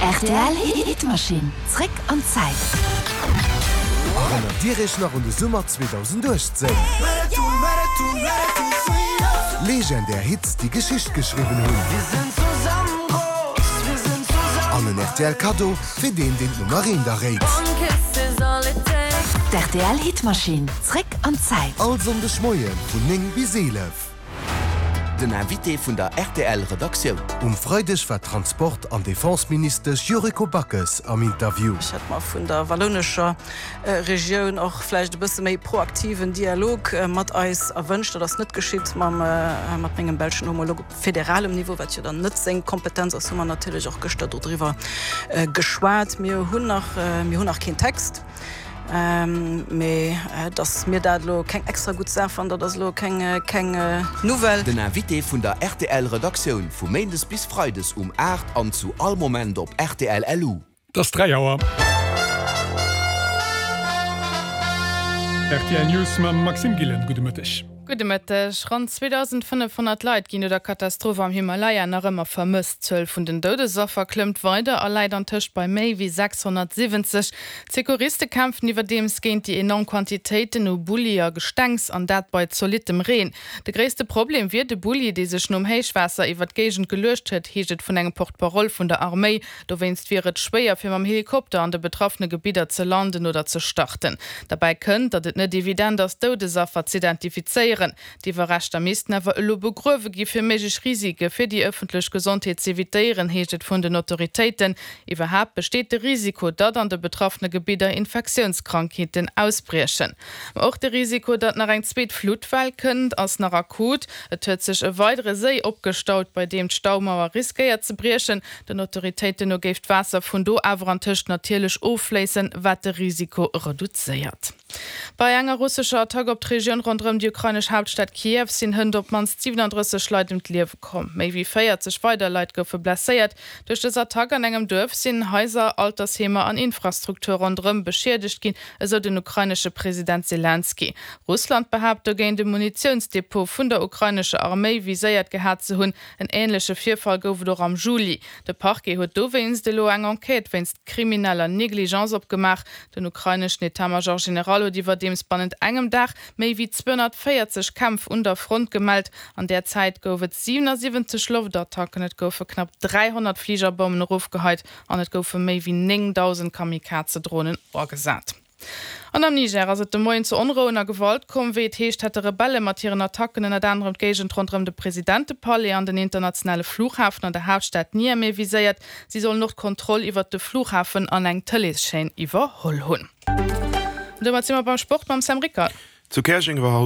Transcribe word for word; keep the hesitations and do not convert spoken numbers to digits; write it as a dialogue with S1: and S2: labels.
S1: Rtl Hitmaschinn, zréck an d'Zäit.
S2: Erënnert Dir Iech nach un de Summer zweedausenduechtzéng? Legendär Hits, déi Geschicht geschriwwen hunn. An en rtl Kaddo fir deen, deen d'Nummer eent erréit.
S1: D'RTL Hitmaschinn, zréck an d'Zäit.
S2: All Sonndeg Moie vun néng bis eelef.
S3: Den Invité vun der rtl Redaktioun.
S2: Um Freideg war d'Transport an Defense-Ministesch Yuriko Backes am Interview.
S4: Ech hätt mer vun der wallounescher Regioun och vläicht e bësse méi proaktiven Dialog mat eis erwënscht. Dat ass net geschitt. Mam mat mengem belschen Homolog op federalem Niveau, wat jo dann net seng Kompetenz ass, hu mer natierlech och gëschter dodriwwer geschwat. Mir hunn nach, mir hunn nach keen Text. Mee dass mir dat elo keng extra gutt Saach fannen, dat ass elo keng keng Nouvelle.
S3: Den Invité vun der rtl Redaktioun vu Méindes bis Freides um aacht an zu all Moment op rtl LU.
S5: Et ass dräi Auer. Rtl News mam Maxime Gillen. Gudde Mëtteg.
S6: Gudde Mëtteg. Ronn zweedausendfënnefhonnert Leit ginn no der Katastroph am Himalaya nach ëmmer vermësst. D'Zuel vun den Doudesaffer klëmmt weider a läit antëscht bei méi wéi sechshonnertsiwwenzeg. D'Secouriste kämpfen iwwerdeems géint déi enorm Quantitéiten u Bulli a Gestengs, an dat bei zolittem Reen. De gréisste Problem wier de Bulli, dee sech nom Héichwaasser iwwer d'Géigend geluecht huet, heescht et vun engem Porte-parole vun der Arméi. Dowéinst wier et schwéier, fir mam Helikopter an de betraffene Gebidder ze landen oder ze starten. Derbäi kënnt, datt et net evident ass, Doudesaffer z'identifizéieren. D'Iwwerreschter missten awer elo begruewe gi fir méiglech Risike fir déi ëffentlech Gesondheet z'evitéieren, heescht et vun den Autoritéiten. Iwwerhaapt besteet de Risiko, datt an de betraffene Gebidder Infektiounskrankheeten ausbriechen. Ma och de Risiko, datt nach eng zweet Fluttwell kënnt, ass nach akut. Et huet sech e weidere Séi opgestaut, bei deem d'Staumauer riskéiert ze briechen. Den Autoritéiten no géif d'Waasser vun do awer antëscht natierlech offléissen, wat de Risiko reduzéiert. Bei enger russescher Attack op d'Regioun ronderëm déi ukrainesch Haaptstad Kiew sinn hënt op d'mannst siwenandrësseg Leit ëm d'Liewe komm. Méi wéi véierzeg weider Leit goufe blesséiert. Duerch dës Attack an engem Duerf sinn Haiser, Altersheemer an Infrastruktur ronderëm beschiedegt ginn, esou den ukrainesche President Selenskyj. Russland behaapt dogéint, e Munitiounsdepot vun der ukrainescher Arméi viséiert gehat ze hunn. En änleche Virfall gouf et och am Juli. De Parquet huet dowéinst elo eng Enquête wéinst krimineller Negligence opgemaach. Den ukraineschen Etat-Major General huet iwwerdeems bannent engem Dag méi wéi zweehonnertvéierzeg Kämpf un der Front gemellt. An där Zäit gouf et siwenasiwwenzeg Loftattacken, et goufe knapp dräihonnert Fligerbommen erofgeheit an et goufe méi wéi néngdausend Kamikaze-Dronen agesat. An am Niger ass et de Moien zu Onrouen a Gewalt komm. Wéi et heescht, hätte Rebelle mat hiren Attacken ënnert anerem d'Géigend ronderëm de Presidentepalais an den internationale Flughafen an der Haaptstad Niamey viséiert. Si sollen och d'Kontroll iwwert de Flughafen an eng Tëleeschaîne iwwerholl hunn. An domat si mer beim Sport mam Sam Rickard.
S7: Zu Käerjeng war haut.